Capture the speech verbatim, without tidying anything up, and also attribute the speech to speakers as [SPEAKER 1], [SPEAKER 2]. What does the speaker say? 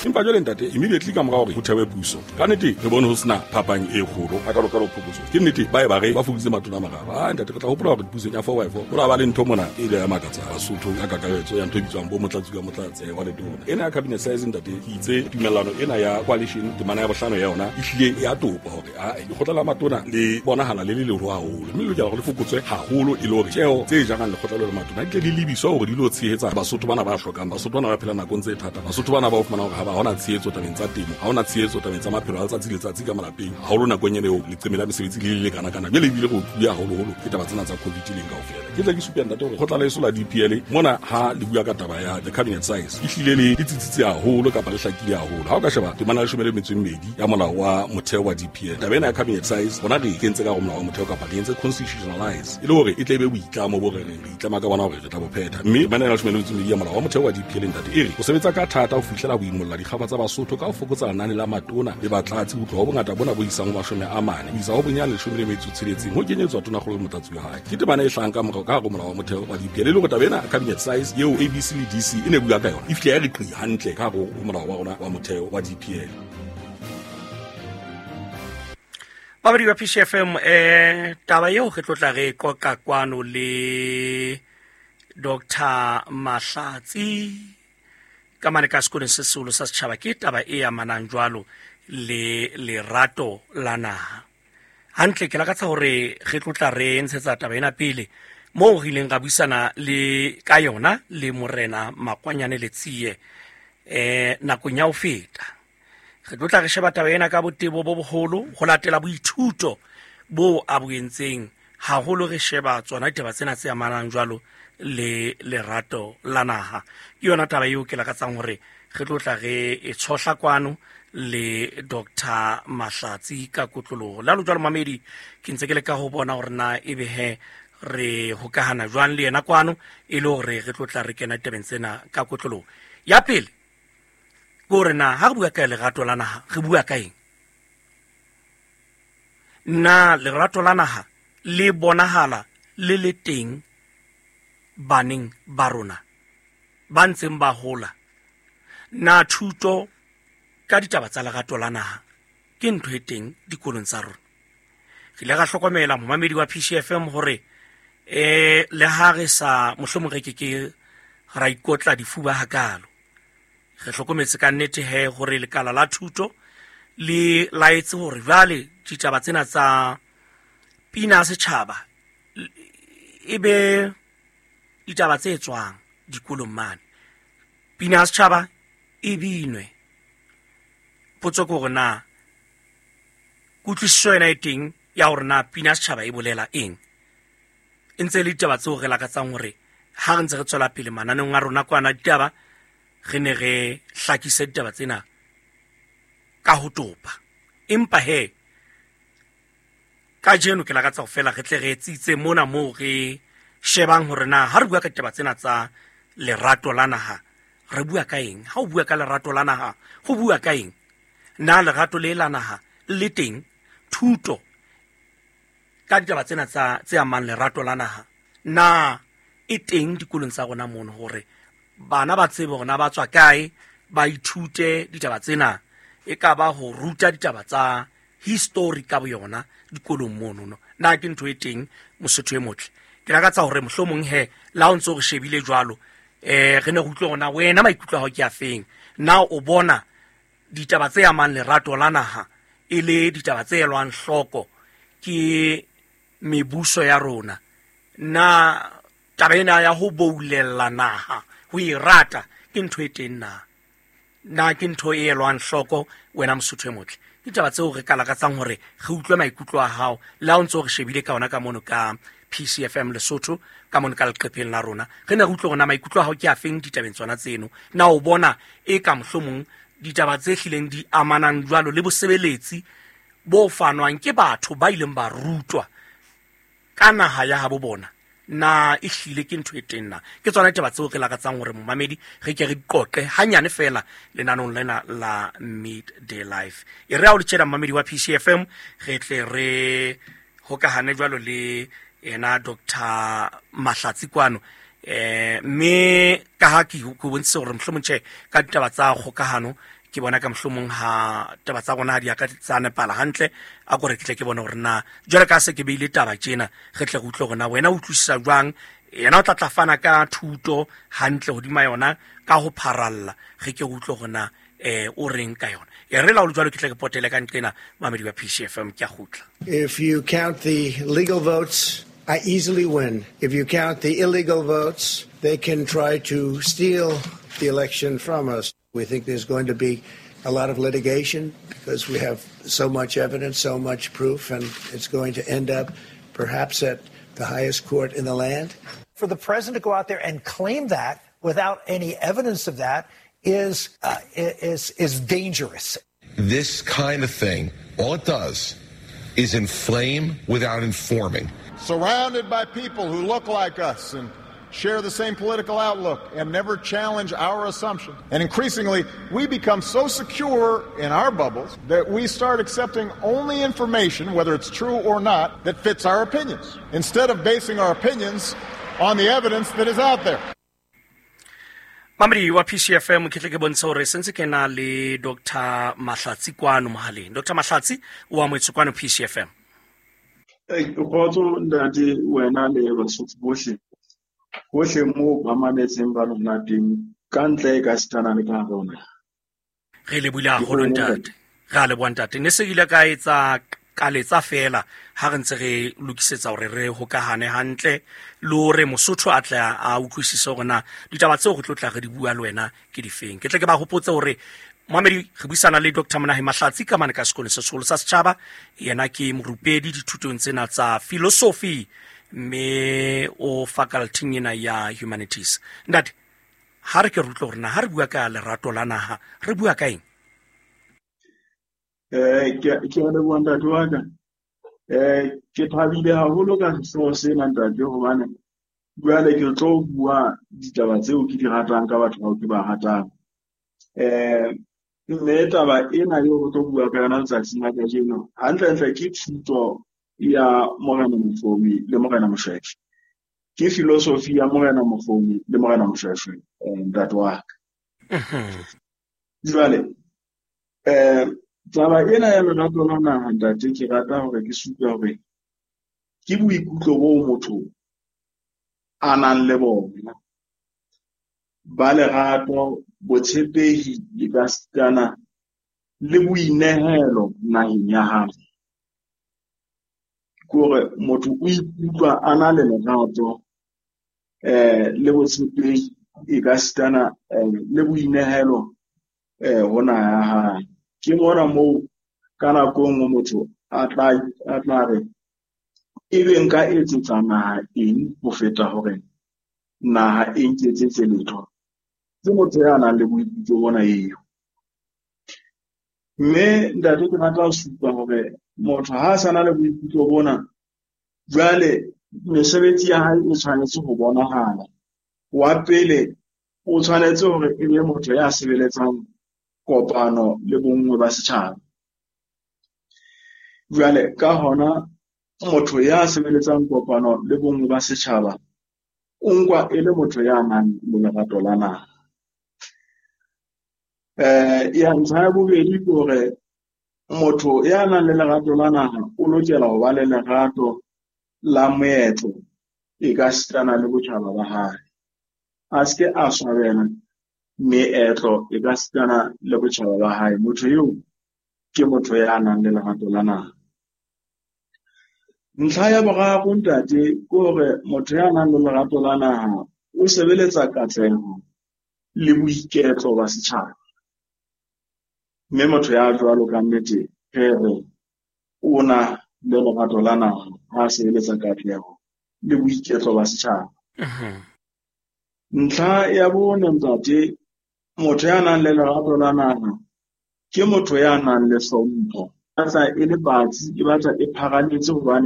[SPEAKER 1] Empa jwale ntate, immediately ka mora hore ho thewe puso, ka nnete re bone ho sena phapang e kgolo hakalo-kalo phokotso. Ke nnete ba e ba re ba fokoditse matona a mararo. Ah ntate, re tla hopola hore pusong ya four by four ho la ba le ntho mona e ile ya makatsa Basotho ka kakaretso ya ntho e bitswang bo motlatsi ka motlatsi wa letona. Ena ya cabinet size ntate, ke itse tumellano ena ya coalition temana ya bohlano ya yona e hlile ya topa hore a lekgotla la matona le bonahala le le leholo haholo, mme le lokela hore le fokotswe haholo e le hore tjeo tse jarang lekgotla leo la matona di tle di lebiswa hore di lo tshehetsa Basotho bana ba hlokang, Basotho bana ba phelang nakong tse thata, Basotho bana ba o fumana hore ha ba hona tshehetso tabeng tsa temo, ha hona tshehetso tabeng tsa maphelo a letsatsi le letsatsi ka malapeng, haholo nakong ena eo leqeme la mesebetsi le le lekana-kana. Jwale ebile re utlwile haholoholo ke taba tsena tsa COVID leng kaofela. Ke tle ke supe ntate hore lekgotla la heso la D P L mona ha le bua ka taba ya the cabinet size e hlile le le tsitsitse haholo kapa le hlakile haholo. Ha o ka sheba temana ya leshome le metso e mmedi ya molao wa motheo wa D P L, taba ena ya cabinet size rona re e kentse ka hare ho molao wa motheo kapa re entse constitutionalize e le hore e tle e be boitlamo bo re reng re itlama ka bona hore re tla bo phetha. Mme temana ya leshome le metso e mmedi ya molao wa motheo wa D P L ntate e re ho sebetsa ka thata ho fihlela ho imolla dikgaba tsa Basotho ka ho fokotsa lenane la matona le batlatsi ho tloha ho bongata bona bo isang ho mashome a mane ho isa ho bonyane leshome le metso e tsheletseng ho kenyetswa tonakgolo le motlatsi wa hae. Ke temana e hlahang ka morao ka hare ho molao wa motheo wa D P L e le hore taba ena cabinet size eo A B C le D C e ne bua ka yona e fihle ya re qi hantle ka hare ho molao wa rona wa motheo wa D P L.
[SPEAKER 2] Babadi ba P C F M, eh taba eo re tlo tla re qoqa kwano le Doctor Mahlatsi ka mane ka sekolong se seholo sa setjhaba, ke taba e amanang jwalo le lerato la naha. Hantle ke lakatsa hore re tlo tla re ntshetsa taba ena pele moo re ileng ra buisana le ka yona le Morena Makwanyane Letsie eh nakong ya ho feta. Re tlo tla re sheba taba ena ka botebo bo boholo ho latela boithuto bo a bo entseng, haholo re sheba tsona ditaba tsena tse amanang jwalo le lerato la naha. Ke yona taba eo ke lakatsang hore re tlo tla re e tshohla kwano le Doctor Mahlatsi ka kotloloho. La lo jwalo mamedi, ke ntse ke leka ho bona hore na ebe he re hokahana jwang le yena kwano e le hore re tlo tla re kena ditabeng tsena ka kotloloho. Ya pele ke hore na ha re bua ka lerato la naha re bua ka eng? Na lerato la naha le bonahala le le teng baneng ba rona ba ntseng ba hola? Na thuto ka ditaba tsa lerato la naha ke ntho e teng dikolong tsa rona? Re ile ra hlokomela momamedi wa P C F M hore eh le ha re sa mohlomong re ke ke ra ikotla difuba hakalo, re hlokometse ka nnete he hore lekala la thuto le laetse hore jwale ditaba tsena tsa pina ya setjhaba e be ditaba tse tswang dikolong mane. Pina ya setjhaba e binwe. Potso ke hore na kutlwisiso ena e teng ya hore na pina ya setjhaba e bolela eng? E ntse e le ditaba tseo re lakatsang hore ha re ntse re tswela pele mananeong a rona kwana ditaba, re ne re hlakise ditaba tsena ka ho topa. Empa he kajeno ke lakatsa ho fela re tle re tsitse mona moo re shebang hore na ha re bua ka ditaba tsena tsa lerato la naha re bua ka eng? Ha o bua ka lerato la naha ho bua ka eng? Na lerato le la naha le teng? Thuto ka ditaba tsena tsa tse amang lerato la naha na e teng dikolong tsa rona mono hore bana ba tsebe hore na ba tswa kae, ba ithute ditaba tsena, e ka ba ho ruta ditaba tsa history ka boyona dikolong mono no. Na ke ntho e teng Mosotho e motle? Ke lakatsa hore mohlomong he la o ntso re shebile jwalo eh re ne re utlwe hore na wena maikutlo a hao ke a feng? Na o bona ditaba tse amang lerato la naha e le ditaba tse elwang hloko ke mebuso ya rona? Na taba ena ya ho boulella naha, ho e rata, ke ntho e teng na? Na ke ntho e elwang hloko wena Mosotho e motle? Ke ditaba tseo re ka lakatsang hore re utlwe maikutlo a hao le ha o ntso re shebile ka ona ka mono ka P C F M Lesotho ka mono ka leqepheng la rona. Re ne re utlwe hore na maikutlo a hao ke a feng ditabeng tsona tseno. Na o bona e ka mohlomong ditaba tse hlileng di amanang jwalo le bosebeletsi bo fanwang ke batho ba ileng ba rutwa ka naha ya habo bona, na e hlile ke ntho e teng na? Ke tsona ditaba tseo re lakatsang hore momamedi re ke re qoqe hanyane fela lenaneong lena la Midday Life. E re ha o le tjena momamedi wa P C F M re tle re hokahane jwalo le yena Doctor Mahlatsi kwano. Eh mme ka ha ke go bontshitse hore mohlomong tjhe ka ditaba tsa kgokahano Ke bona ka mohlomong ha taba tsa rona ha di a ka tsa nepala hantle, a ko re ke tle ke bone hore na jwale ka se ke beile taba tjena, re tle re utlwe hore na wena o utlwisisa jwang. Yena o tla tla fana ka thuto hantle hodima yona ka ho pharalla, re ke re utlwe hore na eh o reng ka yona. E re la o jwalo ke tle ke potele ka nqena mamedi wa P C F M, ke a kgutla.
[SPEAKER 3] If you count the legal votes, I easily win. If you count the illegal votes, they can try to steal the election from us. We think there's going to be a lot of litigation because we have so much evidence, so much proof, and it's going to end up perhaps at the highest court in the land.
[SPEAKER 4] For the president to go out there and claim that without any evidence of that is, uh, is, is dangerous.
[SPEAKER 5] This kind of thing, all it does is inflame without informing.
[SPEAKER 6] Surrounded by people who look like us and share the same political outlook and never challenge our assumptions. And increasingly, we become so secure in our bubbles that we start accepting only information, whether it's true or not, that fits our opinions, instead of basing our opinions on the evidence that is out there.
[SPEAKER 2] Mamedi wa P C F M, ke tle ke bontshe hore sentse ke na le Doctor Mahlatsi kwano mohaleng. Doctor Mahlatsi o amohetswe kwano P C F M.
[SPEAKER 7] Eh, kgotso ntate, wena le Basotho bohle. Hohle moo ba mametseng ba lona teng, ka ntle e ka sitana le ka hare ho naha.
[SPEAKER 2] Re lebohile haholo ntate. Re a leboha ntate. Ne se ile ka etsa kaletsa fela ha re ntse re lokisetsa hore re hokahane hantle le hore Mosotho a tle a utlwisise hore na ditaba tseo re tlo tla re di bua le wena ke difeng. Ke tle ke ba hopotse hore Mohamedi re buisana le Doctor Monahe Mahlatsi ka mane ka sekolong se seholo sa setjhaba. Yena ke morupedi dithutong tsena tsa philosophy mme o faculty ena ya humanities. Ntate, ha re ke re utlwe hore na ha re bua ka lerato la naha re bua ka eng?
[SPEAKER 7] Eh, ke ke a leboha ntate wa ka. Eh, ke thabile haholo ka sehlooho sena ntate, hobane jwale ke tlo bua ditaba tseo ke di ratang ka batho bao ke ba ratang. Eh, mme taba ena eo re tlo bua ka yona letsatsing la kajeno, hantlentle ke thuto ya Morena Mofumi le Morena Moshweshwe. Ke philosophy ya Morena Mofumi le Morena Moshweshwe, eh, ntate wa ka. Jwale, eh, taba ena ya lerato la naha ntate, ke rata hore ke supe hore ke boikutlo bo motho a nang le bona ba lerato, botshepehi le ka sitana le boinehelo naheng ya hae. Ke hore motho o ikutlwa a na le lerato, eh, le botshepehi e ka sitana, eh, le boinehelo, eh, ho naha ya hae. Ke mona moo ka nako e nngwe motho a tla, a tla re ebe nka etsetsa naha eng ho feta hore naha e nketsetse letho. Ke motho ya nang le boikutlo bona eo. Mme ntate, ke rata ho supa hore motho ha a sa na le boikutlo bona, jwale mesebetsi ya hae e tshwanetse ho bonahala. Wa pele, o tshwanetse hore e be motho ya sebeletsang kopano le bonngwe ba setjhaba. Jwale ka hona motho ya sebeletsang kopano le bonngwe ba setjhaba o nkwa e le motho ya nang le lerato la naha. Eh, ya ntlha ya bobedi ke hore motho ya nang le lerato la naha o lokela ho ba le lerato la moetlo e ka sitana le botjhaba ba hae. A se ke a swabela meetlo e ka sitana le botjhaba ba hae. Motho eo ke motho ya nang le lerato la naha. Ntlha ya boraro ntate ke hore motho ya nang le lerato la naha o sebeletsa katleho le boiketlo ba setjhaba. Mme motho ya jwalo ka nnete re re o na le lerato la naha ha a sebeletsa katleho le boiketlo ba setjhaba.
[SPEAKER 2] Mhm.
[SPEAKER 7] Ntlha ya bone ntate, motho ya nang le lerato la naha ke motho ya nang le hlompho. Batla e le batsi, e batla e phahametse hobane